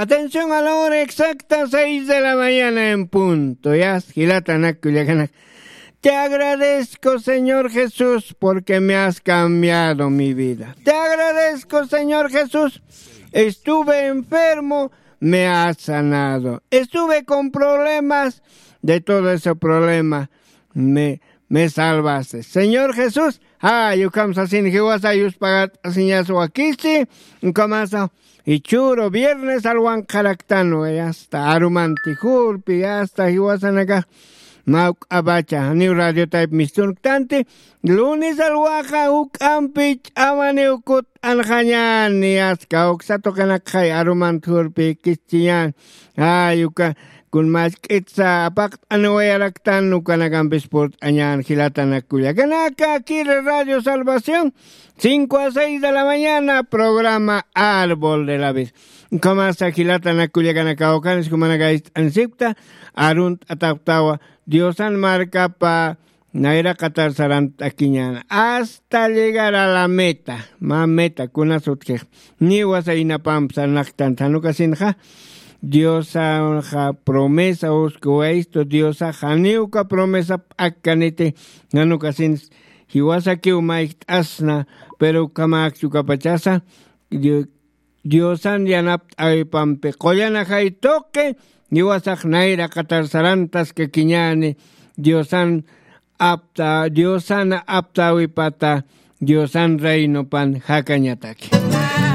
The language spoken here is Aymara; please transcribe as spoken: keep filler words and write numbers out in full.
Atención a la hora exacta, seis de la mañana en punto. Ya, jilatanak kullakanak. Te agradezco, Señor Jesús, porque me has cambiado mi vida. Te agradezco, Señor Jesús. Estuve enfermo, me has sanado. Estuve con problemas, de todo ese problema me, me salvaste. Señor Jesús, ay, ukham sasin jiwasa yuspagat'asiñas wakisi, ukhamasa, ichhüru viernes alwanqaraktanwa, hasta arumanti jurpi, hasta jiwasanaka, mawk'apacha, janiw radio tayp mistunktanti, lunes alwaxa juk'ampi ch'amaniw kut anxañani aska uksa tuqinakxay arumant jurpi kischiñan. Ay, uka kun machk'itsa apaqt'aniwayaraktan ukanakampis purt'añan jilatanak kullakanaka, aquí Radio Salvación, cinco a seis de la mañana, programa Árbol de la Vida. Ukhamasa jilatanak kullakanaka, ukanis jumanaka ist'ansipkta, arunt'atapktawa, Diosan markapa, nayra qatar sarant'akiñäna hasta llegar a la meta. Mä meta kunas utjix, niwasa inapamp sarnaqtan, janukasinxa diosaxa promesa uskuwaystu, diosaxa janiwka promesa p'akkaniti. Janukasins jiwasakiw mayjt'asna, pero ukhamäkchukapachasa, Diosan yanapt'äwipampi qullan ajay tuqi, jiwasax nayra qatar sarantaskakiñäni, diosan apta diosana aptäwipata, diosan reinopan jakañataki.